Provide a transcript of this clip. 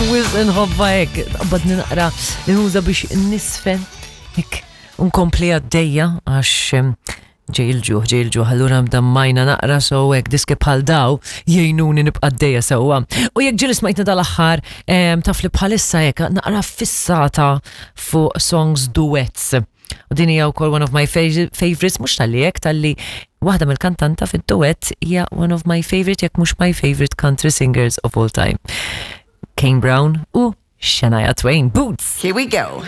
Wisq inħobbha hekk, tqabbadni naqra nuża biex nisfen hekk unkompli għaddejja għax ġej il-ġuħ, ġej il-ġuħ, allura mdammajna naqra so hekk diski bħal daw jgħinuni nibqa' għaddejja sewwa. U jekk ġieli smajtna dal-aħħar taf li bħalissa hekk naqra fissata fuq songs duets. U din hija wkoll one of my favorites, mhux talli hekk, talli waħda mill-kantanta fid-duett hija one of my favorite jekk mhux my favorite country singers of all time. Kane Brown u Shania Twain. Boots! Here we go.